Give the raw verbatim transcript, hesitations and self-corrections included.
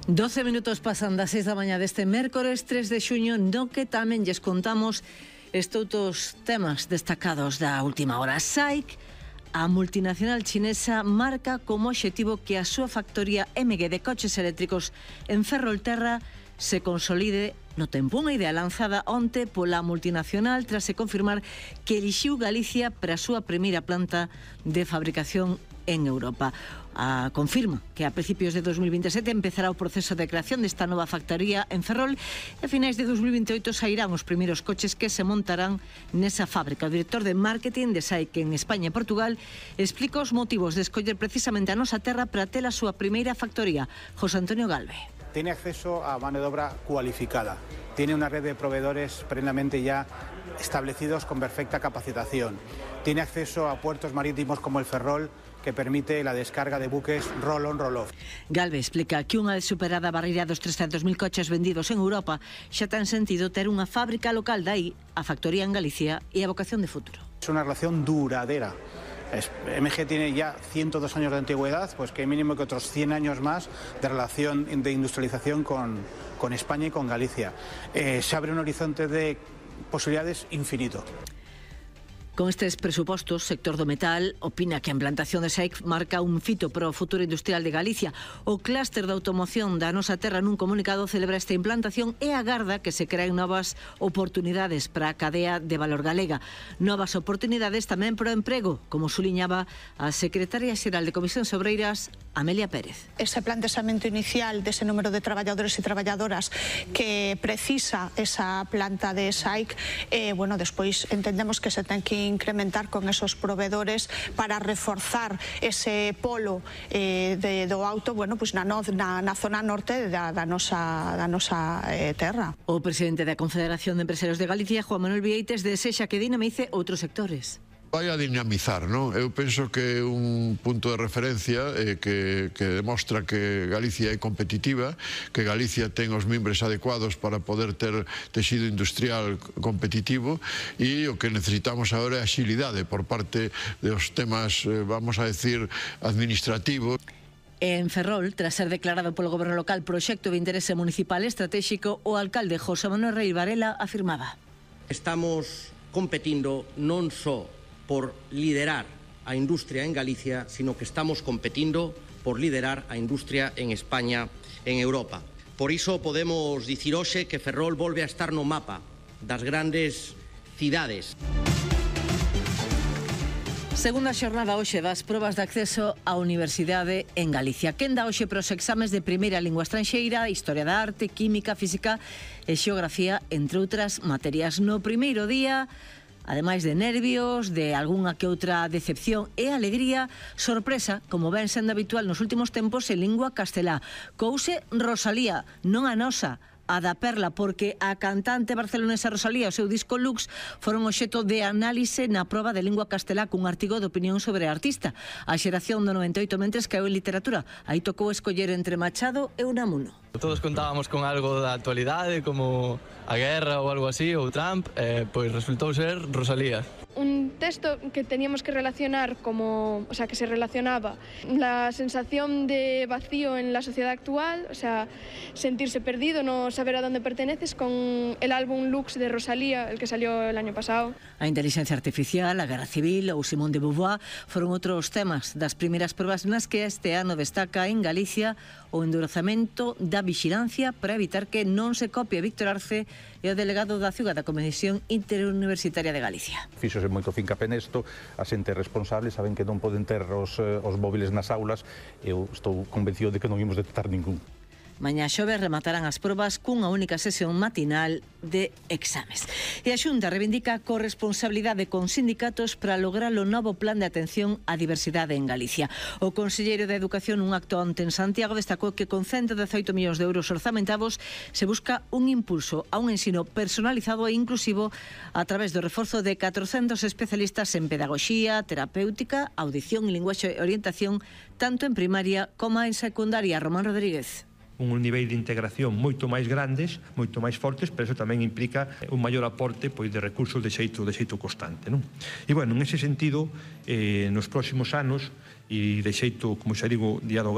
doce minutos pasan das seis da mañá deste mércores tres de xuño, no que tamén lles contamos estos temas destacados da última hora. SAIC, a multinacional chinesa, marca como obxectivo que a súa factoría M G de coches eléctricos en Ferrolterra se consolide no tempo. Unha idea lanzada onte pola multinacional tras se confirmar que elixiu Galicia para a súa primeira planta de fabricación en Europa. A, confirma que a principios de dos mil veintisiete empezará o proceso de creación desta nova factoría en Ferrol e a finais de dos mil veintioito sairán os primeiros coches que se montarán nesa fábrica. O director de marketing de SAIC en España e Portugal explica os motivos de escoller precisamente a nosa terra para ter a súa primeira factoría. José Antonio Galve. Tiene acceso a mano de obra cualificada, tiene una red de proveedores plenamente ya establecidos con perfecta capacitación, tiene acceso a puertos marítimos como el Ferrol, que permite la descarga de buques roll-on, roll-off. Galve explica que unha vez superada a barreira dos trescentos mil coches vendidos en Europa, xa ten sentido ter unha fábrica local, dai a factoría en Galicia e a vocación de futuro. Es una relación duradera. M G tiene ya ciento dos años de antigüedad, pues que mínimo que otros cien años más de relación de industrialización con, con España y con Galicia. Eh, se abre un horizonte de posibilidades infinito. Con estes presupostos, o sector do metal opina que a implantación de SAIC marca un fito para o futuro industrial de Galicia. O clúster da automoción da nosa terra nun comunicado celebra esta implantación e agarda que se creen novas oportunidades para a cadea de valor galega. Novas oportunidades tamén para o emprego, como suliñaba a secretaria xeral de Comisións Obreiras, Amelia Pérez. Ese planteamento inicial dese número de traballadores e traballadoras que precisa esa planta de SAIC, eh, bueno, despois entendemos que se ten que incrementar con esos proveedores para reforzar ese polo eh, de, do auto, bueno, pues na, na, na zona norte da, da nosa, da nosa eh, terra. O presidente da Confederación de Empresarios de Galicia, Juan Manuel Vieites, desexa que dinamice outros sectores. Vai a dinamizar, non? Eu penso que é un punto de referencia eh, que, que demostra que Galicia é competitiva, que Galicia ten os mimbres adecuados para poder ter texido industrial competitivo e o que necesitamos agora é axilidade por parte dos temas, eh, vamos a decir, administrativos. En Ferrol, tras ser declarado polo goberno local proxecto de interese municipal estratégico, o alcalde José Manuel Rey Varela afirmaba: Estamos competindo non só por liderar a industria en Galicia, sino que estamos competindo por liderar a industria en España, en Europa. Por iso podemos dicir hoxe que Ferrol volve a estar no mapa das grandes cidades. Segunda xornada hoxe das probas de acceso á universidade en Galicia. Quen dá hoxe pros exames de primeira lingua estranxeira, historia da arte, química, física e xeografía, entre outras materias. No primeiro día, ademais de nervios, de algunha que outra decepción e alegría, sorpresa, como ven sendo habitual nos últimos tempos, en lingua castelá. Couse Rosalía, non a nosa, a da Perla, porque a cantante barcelonesa Rosalía e o seu disco Lux foron obxecto de análise na proba de lingua castelá cun artigo de opinión sobre a artista. A xeración do noventa e oito mentres caeu en literatura. Aí tocou escoller entre Machado e Unamuno. Todos contábamos con algo da actualidade, como a guerra ou algo así, ou Trump, eh, pois resultou ser Rosalía. Un texto que teníamos que relacionar como, o sea, que se relacionaba la sensación de vacío en la sociedad actual, o sea, sentirse perdido, no saber a dónde perteneces, con el álbum Lux de Rosalía, el que salió el año pasado. A inteligencia artificial, a guerra civil ou Simone de Beauvoir foron outros temas das primeiras probas nas que este ano destaca en Galicia o endurecemento da vixilancia para evitar que non se copie Víctor Arce e o delegado da Ciudad da Comisión Interuniversitaria de Galicia. Fíxose moito fincapé nesto, a xente responsable saben que non poden ter os, os móviles nas aulas. Eu estou convencido de que non imos detectar ningún. Mañá xoves rematarán as probas cunha única sesión matinal de exames. E a Xunta reivindica a corresponsabilidade con sindicatos para lograr o novo plan de atención á diversidade en Galicia. O conselleiro de Educación, nun acto onte en Santiago, destacou que con ciento dezaoito millóns de euros orzamentados se busca un impulso a un ensino personalizado e inclusivo a través do reforzo de catrocentos especialistas en pedagogía, terapéutica, audición e linguaxe e orientación, tanto en primaria como en secundaria. Román Rodríguez. un nivel de integración moito máis grandes, moito máis fortes, pero eso tamén implica un maior aporte pois, de recursos de xeito, de xeito constante. Non? E, bueno, en ese sentido, eh, nos próximos anos, e de xeito, como xa digo, dialogar,